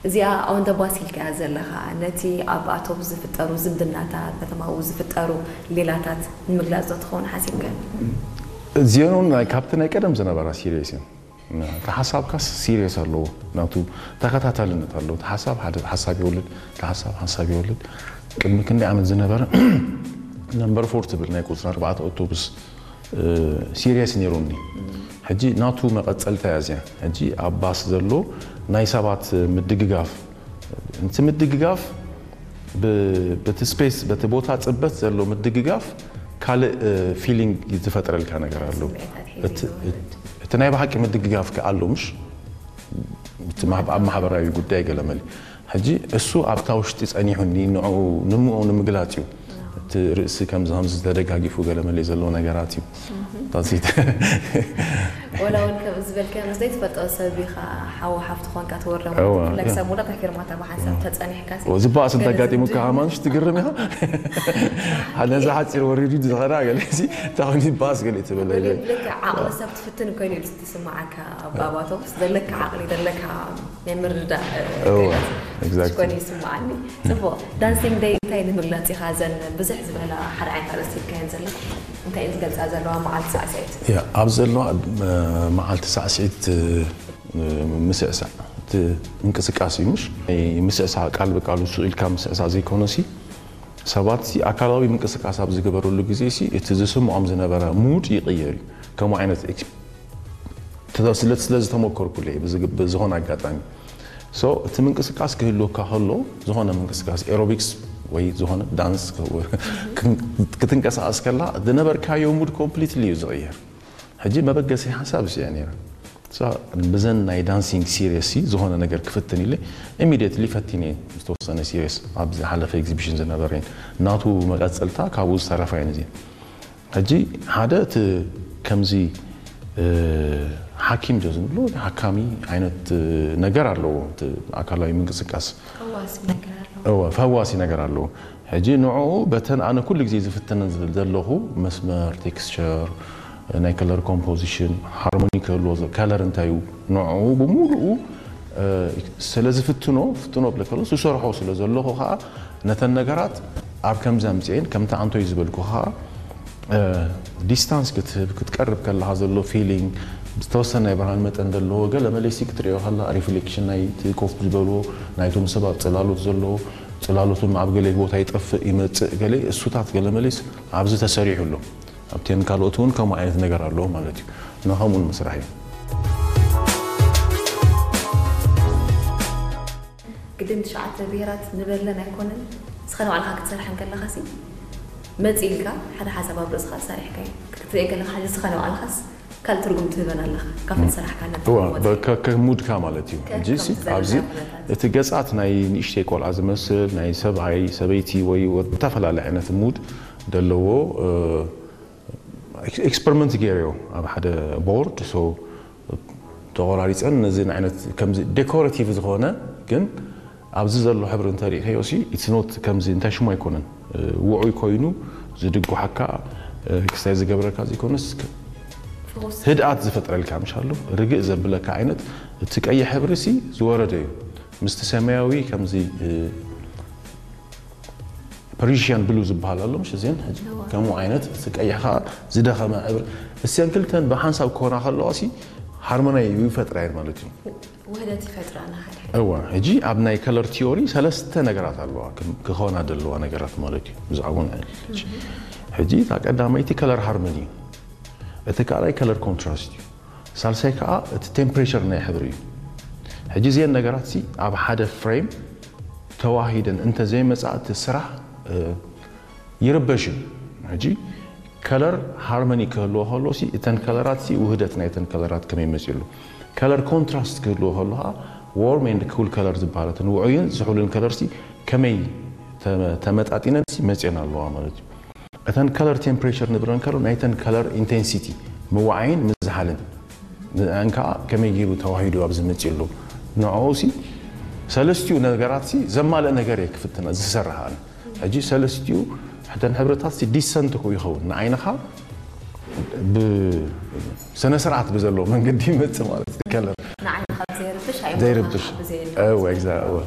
እዚኣ on the bus ኢልካያ ዘለኻ፣ ነቲ ኣብ ኣውቶቡስ ዝፍጠሩ ዝምድናታት፣ ከተማኡ ዝፍጠሩ ሌላታት ንምግላጽ ዶ ትኸውን ሓሲብካ? እዚኦም ናይ ካብቲ ናይ ቀደም ዝነበራ ሲሪየስ እዮም። እቲ ሓሳብካስ ሲሪየስ ኣለዎ፣ ናቱ ተኸታታልነት ኣለዎ። እቲ ሓሳብ ሓደ ሓሳብ ይወልድ፣ እቲ ሓሳብ ሓሳብ ይወልድ። ቅድሚ ክንደይ ዓመት ዝነበረ ነምበር ፎር ትብል ናይ ቁፅሪ ኣርባዕተ ኣውቶቡስ ሲሪየስ ነይሩኒ። ሕጂ ናቱ መቐፀልታ እያ እዚኣ። ሕጂ ኣብ ባስ ዘሎ ናይ ሰባት ምድግጋፍ፣ እቲ ምድግጋፍ ብ- በቲ ስፔስ በቲ ቦታ ፅበት ዘሎ ምድግጋፍ ካልእ ፊሊንግ ዝፈጥረልካ ነገር ኣሎ። ስምዒታት ሒዙ እቲ- ይወርድ። እቲ ናይ ብሓቂ ምድግጋፍ ከ ኣሎ ምሽ እቲ ማህ- ኣብ ማሕበራዊ ጉዳይ ገለመል ሕጂ እሱ ኣብታ ውሽጢ ጸኒሑኒ ንዕኡ ንምኡ ንምግላጽ እዩ። እቲ ርእሲ ከምዚ ከምዚ ተደጋጊፉ ገለመል ዘሎ ነገራት እዩ። ታዚት ወላ እውን ከም ዝበልካዮ ምስ ዘይትፈልጦ ሰብ ኢኻ ሓው ሓፍቲ ኮንካ ትወርዶ እዋ፣ ፍላይ እዋ። ክሳብ መወዳእታ ፊርማታ ብሓንሳብ ተጸኒሕካ ሲ ዝበኣስ ገለ እንተጋጢሙካ ዝምድና- ከማን ትግርም ኢኻ። ሓደ ነዚ ሓፂር ወሪዱ ዝኸዳ ገለ ሲ ታኹን ይበኣስ ገለ ትበለ ልክዕ ዓቕሊ ሰብ ትፍትን ኮይኑ እዩ ዝስማዓካ። ኣብ ኣውቶቡስ ዘለካ ዓቕሊ ዘለካ ናይ ምርዳእ እዋ፣ ክእለት exactly። ኮይኑ ይስማዓኒ። ጽቡቕ ዳንሲንግ ደይ እንታይ ንምግላጽ ኢኻ? እዘን ብዙሕ ዝበላ ሓደ ዓይነት ኣርእስቲ ኢልካየን ዘለኻ እንታይ እየን ዝገልጻ ዘለዋ መዓልቲ ሳዕስዒት? ያ ኣብ ዘለዋ መዓልቲ ሳዕስዒት ምስዕሳዕ እቲ ምንቅስቃስ እዩ ምሽ ምስዕሳዕ ቃል ብቃሉ ስቕ ኢልካ ምስዕሳዕ ዘይኮነ ሲ ሰባት ሲ ኣካላዊ ምንቅስቃስ ኣብ ዝገበረሉ ግዜ ሲ እቲ ዝስምዖም ዝነበረ ሙድ ይቕየር እዩ። ከምኡ ዓይነት ስለ ስለዝተመከርኩሉ ብዝኾነ ኣጋጣሚ ሶ እቲ ምንቅስቃስ ክህልወካ ከሎ ዝኾነ ምንቅስቃስ ኤሮቢክስ ወይ ዝኾነ ዳንስ ክትንቀሳቀስ ከላ ዝነበርካዮ ሙድ ኮምፕሊትሊ እዩ ዝቕየር። ሕጂ መበገሲ ሓሳብ እዚኣ ነይራ። ብዘን ናይ ዳንሲንግ ሲሪየስ ሲ ዝኾነ ነገር ክፍትን ኢለ ኢሚዲየትሊ ፈቲነ ዝተወሰነ ሲሪየስ ኣብ ዝሓለፈ ኤግዚቢሽን ዝነበረ ናቱ መቀፀልታ ካብኡ ዝተረፋ እየን እዚን ሕጂ ሓደ እቲ ከምዚ ሓኪም ዶ ዝንብሎ ሓካሚ ዓይነት ነገር ኣለዎ ኣካላዊ ምንቅስቃስ እወ ፈዋሲ ነገር ኣለዎ። ሕጂ ንዕኡ በተን ኣነ ኩሉ ግዜ ዝፍትነን ዘለኹ መስመር ቴክስቸር ናይ ከለር ኮምፖዚሽን ሃርሞኒ ክህልዎ ከለር እንታይ እዩ ንዕኡ ብምሉኡ ስለ ዝፍትኖ ፍትኖ ብለ ከሎ ዝሰርሖ ስለ ዘለኹ ከዓ ነተን ነገራት ኣብ ከምዚ ኣምፅኤን ከምቲ ኣንቶይ ዝበልኩ ከዓ ዲስታንስ ክትህብ ክትቀርብ ከለካ ዘሎ ፊሊንግ ዝተወሰነ ናይ ብርሃን መጠን ዘለዎ ገለ መለሲ ክትሪኦ ከላ ሪፍሌክሽን ናይቲ ኮፍ ዝበልዎ ናይቶም ሰባት ፅላሎት ዘለዎ ፅላሎት ድማ ኣብ ገለ ቦታ ይጠፍእ ይመፅእ ገለ እሱታት ገለ መለስ ኣብዚ ተሰሪሑ ኣሎ ኣብቴን ካልኦት እውን ከምኡ ዓይነት ነገር ኣለዎ ማለት እዩ ንኸምኡን ምስራሕ እዩ ግድን ትሽዓተ ብሄራት ንበለን ኣይኮነን እስኻ ንባዕልኻ ክትሰርሐን ከለኻሲ መፂ ኢልካ ሓደ ሓሳብ ኣብ ርእስኻ ሰሪሕካ እዩ ክትሪኦ ከለካ ሕጂ እስኻ ንባዕልኻስ ካልእ ትርጉም ትህበን ኣለኻ ካብቲ ዝሰራሕካ ነቲ እዋ፣ ወፂ በ- ከ- ከ- ሙድካ ማለት እዩ ከ- ሕጂ ሲ ከምቲ ዘለና ኣብዚ ኩነታት። እቲ ገጻት ናይ ንእሽተይ ቆልዓ ዝመስል ናይ ሰብኣይ ሰበይቲ ወይ ወ- ዝተፈላለየ ዓይነት ሙድ ዘለዎ እ፣ ኤክስ- ኤክስፐሪመንት ገይረዮ ኣብ ሓደ ቦርድ ሶ ተቆራሪፀን ነዚ ዓይነት ከምዚ ዴኮሬቲቭ ዝኾነ ግን ኣብዚ ዘሎ ሕብሪ እንተሪእኸዮ ሲ ኢትስ ኖት ከምዚ እንታይ ሽሙ ኣይኮነን ውዑይ ኮይኑ ዝድጉሓካ ክስታይ ዝገብረካ ዘይኮነስ ህድኣት ዝፈጥረልካ ምሽ ኣሎ ርግእ ዘብለካ ዓይነት እቲ ቀይሕ ሕብሪ ሲ ዝወረደ እዩ ምስቲ ሰማያዊ ከምዚ ፐሪሽያን ብሉ ዝበሃል ኣሎ ምሽ እዚን ከምኡ ዓይነት እቲ ቀይሕ ከዓ ዝደኸመ ሕብሪ እሰን ክልተን ብሓንሳብ ክኾና ከለዋ ሲ ሃርሞናይ ይፈጥራ እየን ማለት እዩ ውህደት ይፈጥራና ሓደ እዋ ሕጂ ኣብ ናይ ከለር ቲዮሪ ሰለስተ ነገራት ኣለዋ ክም- ክኾና ዘለዋ ነገራት ማለት እዩ ብዛዕባ ናይ ሕጂ እታ ቀዳመይቲ ከለር ሃርሞኒ እዩ እቲ ካልኣይ ከለር ኮንትራስት እዩ ሳልሳይ ከዓ እቲ ቴምፕሬቸር ናይ ሕብሪ እዩ ሕጂ እዚአን ነገራት ሲ ኣብ ሓደ ፍሬም ተዋሂደን እንተዘይመፃ እቲ ስራሕ እ፣ ይርበሽ እዩ ሕጂ ከለር ሃርመኒ ክህልዎ ከሎ ሲ እተን ከለራት ሲ ውህደት ናይ እተን ከለራት ከመይ መፅሉ ከለር ኮንትራስት ክህልዎ ከሎ ከዓ ዎርም ኤንድ ኩል ከለር ዝበሃል እተን ውዑይን ዝሑልን ከለር ሲ ከመይ ተ- ተመጣጢነን ሲ መፅየን ኣለዋ ማለት እዩ እተን ከለር ቴምፕሬቸር ንብለን ከሎ ናይተን ከለር ኢንቴንሲቲ ምዋዓይን ምዝሓልን እን ከዓ ከመይ ገይሩ ተዋሂዱ ኣብዚ መፅሉ ንዕኡ ሲ ሰለስቲኡ ነገራት ሲ ዘማልእ ነገር እየ ክፍትና ዝሰርሕ ኣነ ሕጂ ሰለስቲኡ ሕተን ሕብርታት ሲ ዲሰንት ኮ ይኸውን ንዓይንኻ ብስነ ስርዓት ብዘለዎ መንገዲ ይመፅእ ማለት እዩ ከለር ንዓይንኻ ብዘየርብሽ ዘይርብሽ። እወ፣ exactly፣ እወ።